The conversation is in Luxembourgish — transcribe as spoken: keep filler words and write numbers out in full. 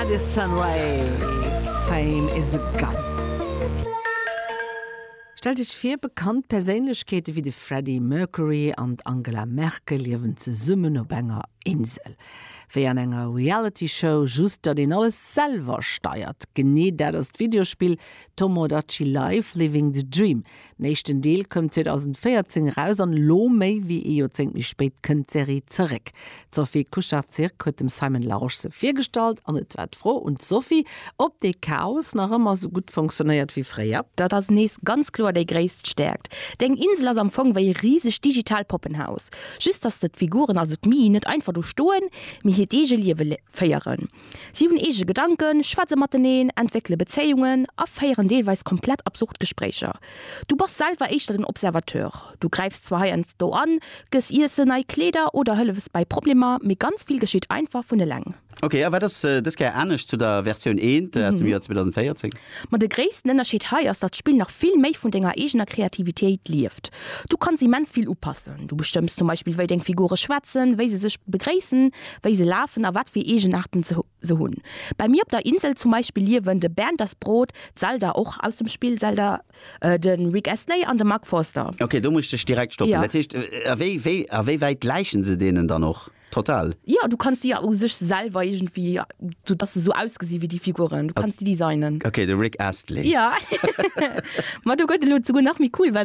Addison Rae, Fame is a Gun. Stellt Iech vir, bekannt Perséinlechkeete wéi de Freddie Mercury an d'Angela Merkel liewen zesummen op enger Insel. Wéi an enger Reality-Show, just datt een alles selwer steiert. Genee dat ass d'Videospill Tomodachi Life Living the Dream. Den éischten Deel koum zweedausendvéierzéng eraus an elo méi wéi ee Joerzéngt méi spéit kënnt d'Serie zeréck. D'Sophie Kucharczyk huet dem Simon Larosche se virgestallt an et war d'Fro un d'Sophie, ob dee Chaos nach ëmmer sou gutt funktionéiert wéi fréier. Dat ass nees ganz kloer déi gréisst Stäerkt. Deng Insel ass am Fong wéi e risegt digitaalt Poppenhaus. Just datt d'Figuren, also d'Mii, net einfach do stoen, mee hiert eege Liewe féieren. Si hunn eege Gedanken, schwätze mateneen, entwéckele Bezéiungen a féieren deelweis komplett absurd Gespréicher. Du bass selwer éischter den Observateur. Du gräifs zwar heiansdo an, gëss Iessen, nei Kleeder oder hëllefs bei Problemer, mee ganz vill geschitt einfach vun eleng. Ok, a wat ass dës Kéier anescht zu der Versioun eent aus dem Joer zweedausendvéierzéng? Ma de gréissten Ënnerscheed hei ass, datt d'Spill nach vill méi vun denger eegener Kreativitéit lieft. Du kanns immens vill upassen. Du bestëmms zum Beispill, wéi deng Figure schwätzen, wéi se sech begréissen, wéi se lafen a wat fir Eegenaarten se hunn. Bei mir op der Insel zum Beispill liewen de Bernd das Brot, d'Zelda, och aus dem Spill Zelda, de Rick Astley an de Mark Forster. Ok, do muss ech dech direkt stoppen. Dat heescht, a wéi, wéi, a wéi wäit gläichen se deenen dann och total? Jo, du kanns déi u sech selwer iergendwéi, sou dass se sou ausgesi wéi déi Figuren, du kanns déi designen. Ok, de Rick Astley. Jo, ma do gëtt et elo souguer nach méi cool, well